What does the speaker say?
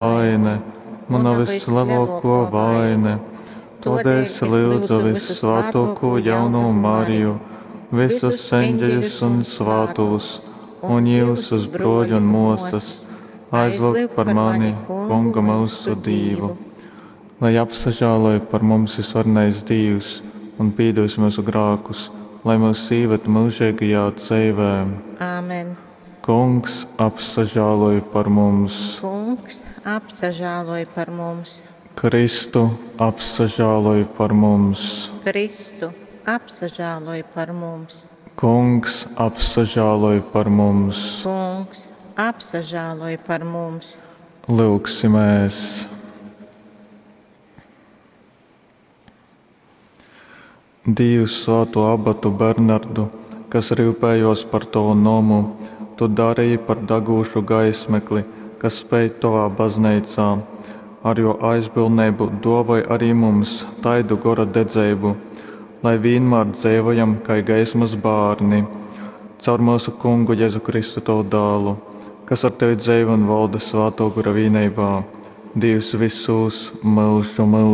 Vaine, muna vyslelōkō vaine. Tōdēļ es lyudzu vyssvātōkū jaunū Mariju, visus eņģeļus un svātūs, un jyusus, brōļi un mōsas, aizlyugt par mani Kungu myusu Dīvu. Lai apsažāloj par mums vysvarenais Dīvs un pīdūs myusu grākus, lai myus īved myužeigajā dzeivē. Āmen. Kungs, apsažāloj par mums! Kungs, apsažāloj par mums! Kristu, apsažāloj par mums! Kristu, apsažāloj par mums! Kungs, apsažāloj par mums! Kungs, apsažāloj par mums! Lyugsimēs! Dīvs svātū abatu Bernardu, kas ryupējōs par tovu nomu, tu dareji par dagūšu gaismekli, kas speid tovā bazneicā. Ar jō aizbildneibu dōvoj ari mums taidu gora dedzeibu, lai vīnmār dzeivojam kai gaismas bārni. Caur myusu Kungu Jezu Kristu tovu dālu, kas ar tevi dzeivoj un volda Svātō Gora vīneibā, Dīvs vysūs myužu myužūs.